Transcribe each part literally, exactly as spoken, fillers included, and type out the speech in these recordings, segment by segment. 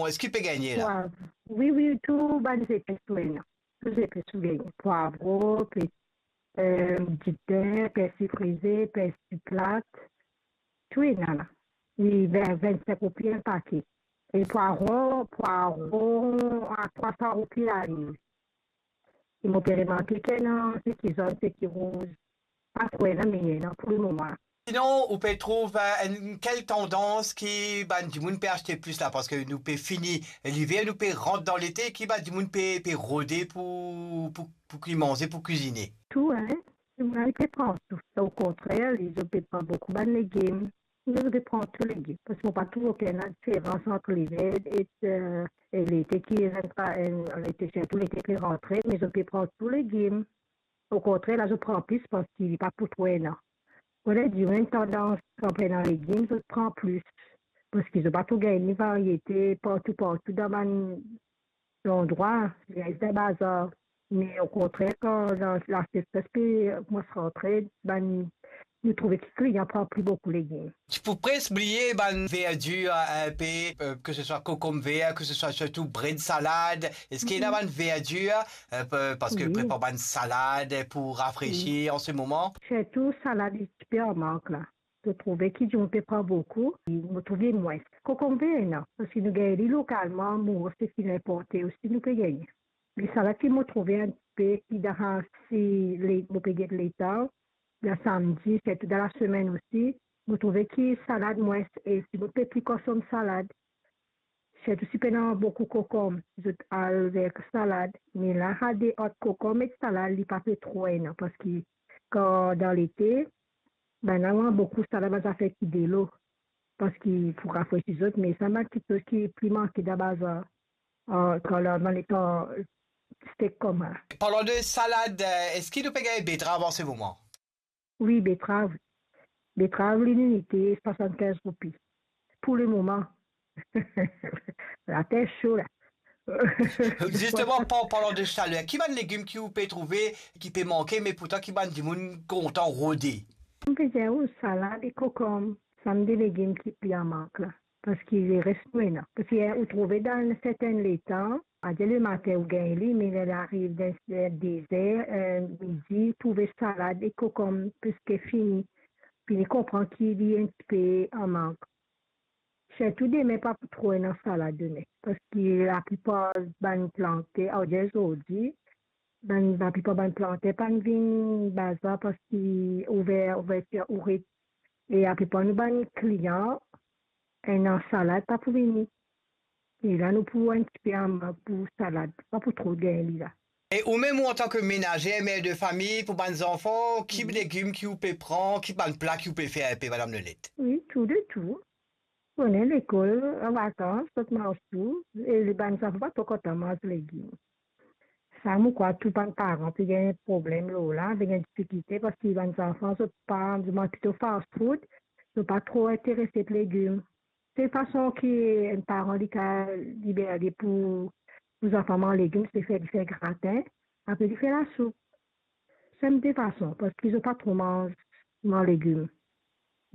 Eski pe gagne la? Pwav. Wi, wi, tou bann zepes tou ena. Tou zepes tou gagne. Pwavron, pe, eh, dipin, persi frize, persi plat. Tou ena la. Wi, vin, vinn-sink roupi enn pake. E pwaron, pwaron a trwa san roupi laliv. E mo pe remarke ki ena seki zone, seki rouz. Pa tro ena, me ena pou lemoman. Sinon, ou pe trouv, eh, enn, kel tandans ki bann dimoun pe aste plis la? Parski nou pe fini liver, nou pe rant dan lete, ki bann dimoun pe, pe rode pou, pou, pou ki manze, pou kwizine? Tou, hein. Dimoun pe pran tou. Okontrer, li, zot pe pran boukou bann legim. Zot pe pran tou legim. Parski mo pa trouv okenn diferans ant liver e, eh, e lete ki, eh, lete, sirtou lete pe rantre, me zot pe pran tou legim. Okontrer, la zot pran plis parski li pa pou tro ena. Mo dir, enn tandans, kan pa ena legim, zot pran plis. Parski zot pa tro gagn ni variete partou, partou dan bann landrwa, li ariv dan bazar. Me okontrer, kan la, la sesres pe koumans rantre, bann, nou trouve ki klian pran pli boukou legim. Ti pou pres bliye bann verdir, eh, inpe, eh, ke se swa kokomber, ke se swa sirtou bred salad. Eski ena bann verdir, eh, pe-, parski prepar bann salad pou rafresi an se moman? Sirtou salad, li ti pe an mank la. Mo trouve ki dimoun pe pran boukou, mo trouve mwins. Kokomber ena, parski nou gagn li lokalman, mo seki inporte osi, nou pe gagn. Me salad ki mo trouve inpe ki dan, si le, mo pe get letan, dan samdi, sirtou dan lasemenn osi, mo trouve ki salad mwins, e dimoun pe pli konsom salad. Sirtou si pena boukou kokom, zot al ver salad. Me la, ade ant kokom ek salad, li pa pe tro ena, parski kan dan lete, bann la manz boukou salad, bann zafer ki delo, parski pou rafresi zot, me sa bann kiksoz ki pli manke dan bazar, eh, kan la, dan letan stek kouma. Parlan de salad, eh, eski nou pe gagn betrav an se moman? Wi, betrav. Betrav, li linite swasannkinz roupi. Pou lemoman. Later so la. Zisteman, par-, parlan de salad, ki bann legim ki ou pe trouve ki pe manke, me pourtan ki bann dimoun kontan rode? Mo pe dir ou salad e kokom, sa de legim ki pli an mank la. Parski leres nou ena. Parski, eh, ou trouve dan sertin letan, adir lematin ou gagn li, me ler li ariv dan, eh, dezer, eh, midi, trouve salad e kokom preske fini. Fini konpran ki li enn tipe an mank. Sirtou demin pa pou tro ena salad demin, parski laplipar bann planter, adir zordi, bann, laplipar bann planter pa'nn vinn bazar parski ouver, ouvertir oret. E laplipar nou bann klian, ena salad pa pou vini. E la nou pou enn tipe an mank pou salad, pa pou tro gagn li la. E ou mem, ou antan ke menazer, mer de fami, pou bann zanfan, ki legim ki ou pe pran, ki bann pla ki ou pe fer inpe, Madam Lelette? Wi, tou de tou. Konnen lekol, an vakans, zot manz tou, e bann zanfan pa tro kontan manz legim. Sa, mo krwar tou bann paran pe gagn problem lor la, pe gagn difikilte, parski bann zanfan, zot pa, zot manz plito fast food, zot pa tro interese par legim. Se fason ki enn paran li kav liber li pou, pou zanfan manz legim, se fer, li fer gratin, apre li fer lasoup. Sa de fason, parski zot pa tro manz, manz legim.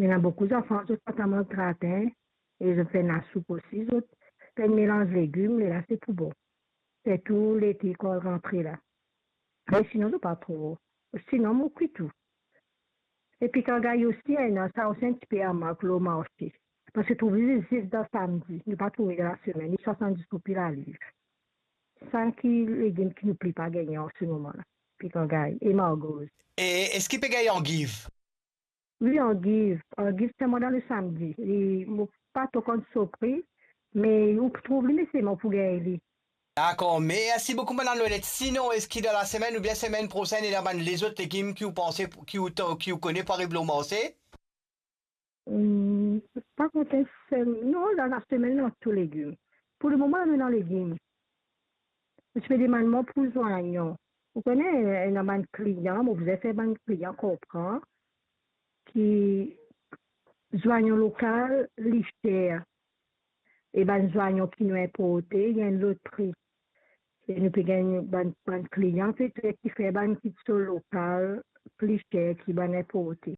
Ena boukou zanfan, zot pa tro manz gratin, e zot fer lasoup osi, zot fer melanz legim, lerla se pou bon. Sirtou lete kan rantre la. Me sinon, zot pa tro. Sinon, mo kwi tou. E pikan gay osi, ena, sa osi enn tipe an mank lor marse. Parski trouv li zis dan samdi, nou pa trouv li dan lasemenn, li swasanndis roupi laliv. Sa ki legim ki nou pli pa gagn an se moman la, pikan gay e margoz. E eski pe gagn angiv? Wi, angiv. Angiv selman dan lesamdi. Li, mo pa tro konn so pri, me ou pou trouv li, me selman pou gagn li. Dakor, mersi boukou, Madam Lelette. Sinon, eski dan lasemenn oubien semenn prosenn, ena bann lezot legim ki ou panse, ki ou ta-, ki ou kone pou ariv lor marse? Hmm, pa kont enn sel, non, dan lasemenn, ena tou legim. Pou lemoman, nou ena legim. Mo ti pe demann mwa pou zwanyon. Ou kone, ena bann klian, mo bizin fer bann klian konpran ki zwanyon lokal, li ser. E bann zwanyon ki nou inporte, li enn lot pri. E nou pe gagn bann, bann klian, petet ki fer bann kitsoz lokal pli ser ki bann inporte.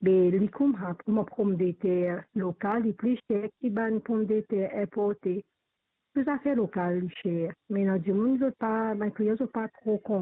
Be li kouma, kouma pomdeter lokal, li pli ser ki bann pomdeter inporte. Tou zafer lokal li cher, me ena dimoun zot pa, bann kliyan zot pa tro konpran.